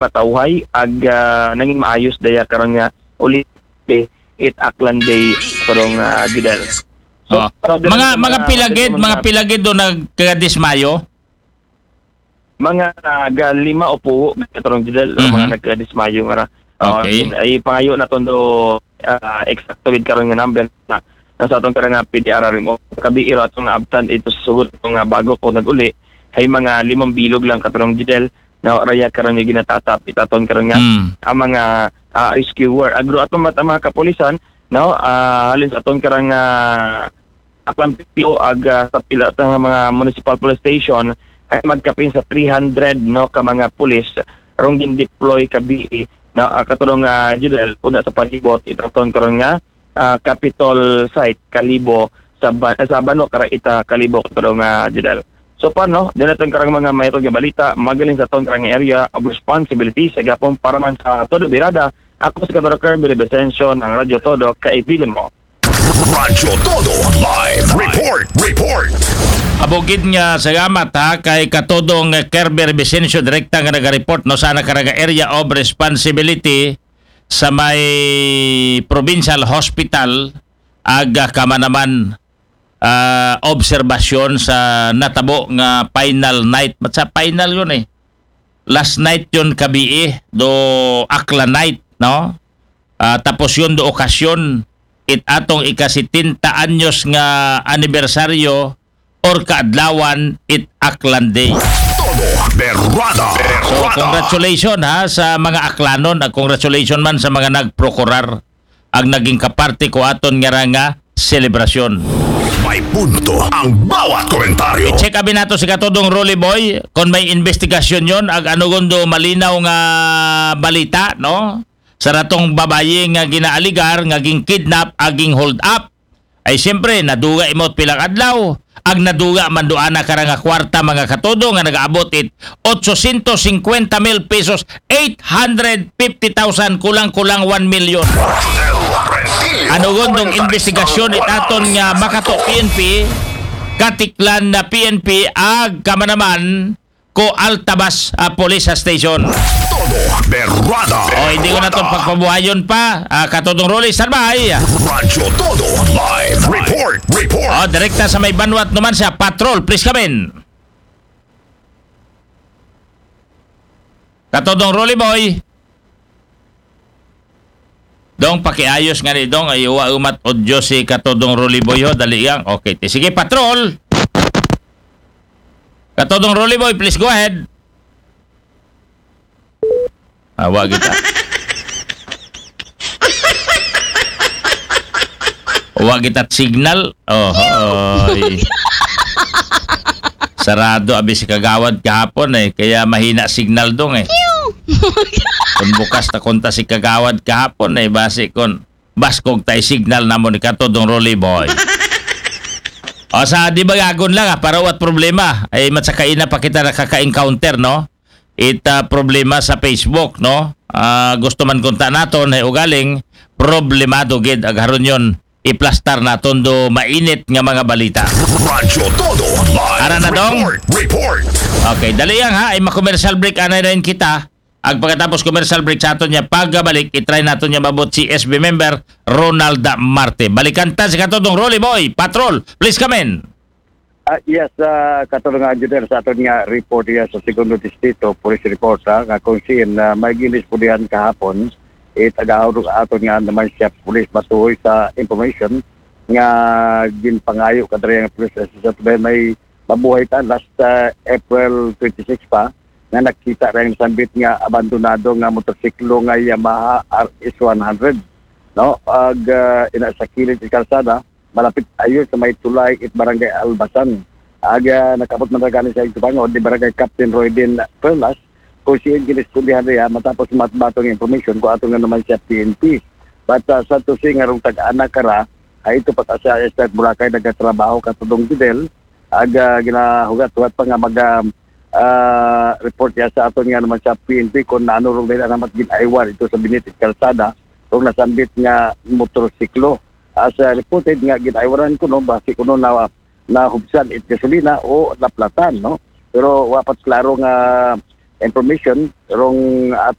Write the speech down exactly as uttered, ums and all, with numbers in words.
matawhay ag, ah, nangin maayos daya karon nga uli it Aklan Day, karong, ah, Judel. So, Oh. para diri Mga sa mga pilagid, mga mga pilagid do nagkadismayo. Mga, ah, ga lima o puho karong Judel, Mhm. mga nagkadismayo nga ra. Ah, Okay. ay pangayo naton do, ah, eksakto gid karon nga number na nasa atong karang nga P D R R M O. Kabi iro atong naabtan ito sa sugod nga bago ko nag-uli. Hay mga limang bilog lang katarong Judel na raya karon nga ginatatap itaton karon nga Hmm. ang mga, ah, rescuer. Agro ato mat ang mga kapulisan, no? Ah, halin sa aton karang, ah, Aklan P P O ag, ah, sa pila ta nga mga municipal police station ay magkapin sa three hundred, no, ka mga pulis rong gin-deploy kabi, no, ah, katulong, ah, Judel, una sa palibot itaton karon nga, ah, Capitol site Kalibo sa ba- sa Bano kara ita Kalibo katulong, ah, Judel. So paano? Din natin karang mga mayroon nga balita, magaling sa aton karang area of responsibility sa gapon para man sa todo birada. Ako si Kadoro Kirby Vicencio ng Radyo Todo, kaibigan mo. Radyo Todo Live Report. Report. Abugid nga salamat ha kay Katodong Kerber Vicencio, direkta nga naga-report no sa nakarang area of responsibility sa may provincial hospital ag, ah, kamanaman, ah, obserbasyon sa natabo nga final night. Mat sa final yun eh. Last night yun kabi eh, do Aklan night, no? Ah, tapos yun do okasyon it atong ika-setenta anyos nga anibersaryo or kaadlawan it Aklan Day. Todo Berrada. So, congratulations ha sa mga Aklanon, ag congratulations man sa mga nagprokurar ag naging kaparte ko aton nga ra nga selebrasyon. May punto ang bawat komentaryo. Check abi nato si Katodong Rolly Boy kung may investigasyon yon ag ano gundo malinaw nga balita, no? Sa ratong babayi nga ginaaligar nga ging kidnap ag ging hold up. Ay siyempre, naduga imot pilang adlaw. Ag naduga man do ana kara nga kwarta, mga Katodong, nga nagaabot it otsosyentos singkwenta mil pesos, eight hundred fifty thousand, kulang-kulang one million. Ano gundong investigasyon it aton nga Makato P N P, Katiklan na P N P, ag kamanaman ko Altabas, ah, Police Station. Todo Berrada. O, hindi ko na itong pagpabuhayon pa. Ah, Katodong Rolly, standby. Radyo Todo Live Report. Report. O, direkta sa may banwat naman siya. Patrol, please come in. Katodong Rolly Boy. Dong, pakiayos nga ni Dong. Ay, uwa umat audio si Katodong Rolly Boy ho. Dali yang. Okay. Ti- Sige, Patrol. Katodong Rolly Boy, please go ahead. Awa kita. Wa kita signal. Oh, oy. Sarado abi si Kagawad kahapon eh. Kaya mahina signal dong eh. Kung bukas ta konta si Kagawad kahapon eh. Basi kon baskog tay signal namo ni Katodong Rolly Boy. O sa di bagagon lang ah, para wat problema. Ay matsakaina pa kita nakaka-encounter, no? It ah, problema sa Facebook, no? Ah, gusto man kunta naton ay ugaling problemado gid ag haron yon iplastar naton do mainit nga mga balita. Radyo Todo Live. Ara na, Dong. Report. Report. Okay, dali yang ha, ay ma-commercial break anay rin kita. Ag pagkatapos commercial break sa aton niya pagabalik, itry naton niya mabot si S B member Ronald Marte. Balikan ta si Katodong Rolly Boy, Patrol, please come in. Ah, yes, uh, katulong nga engineer sa aton nga report diya sa Segundo Distrito, police report ha, nga kung siin uh, may ginis pulihan kahapon, it agaw aton nga naman siya police matuhoy sa information nga ginpangayo kadiri nga police assistant may mabuhay ta last uh, April twenty-six pa nga nakita ra ang sambit nga abandonado nga motorsiklo nga Yamaha R S one hundred, no? Ag uh, ina sa kilid sa kalsada, malapit ayo sa may tulay it barangay Albasan. Aga nakabot man gani sa igtubangod ni barangay Captain Roydin Perlas, kung siya giniskulihan niya matapos matbatong information ko ato nga naman siya P N P. But uh, sa tusi nga rong tag-anak kara, ay ito pa sa Estate Boracay nagatrabaho katudong Fidel, aga ginahugat-hugat pa nga mag uh, report niya sa aton nga naman sa P N P kung naano rong dahil namat ginaiwan ito sa binitit kalsada rong nasambit nga motorsiklo. As uh, reported nga ginaiwanan kuno basi kuno na nahubsan it gasolina o naplatan, no? Pero wa pa klaro nga information rong, ah,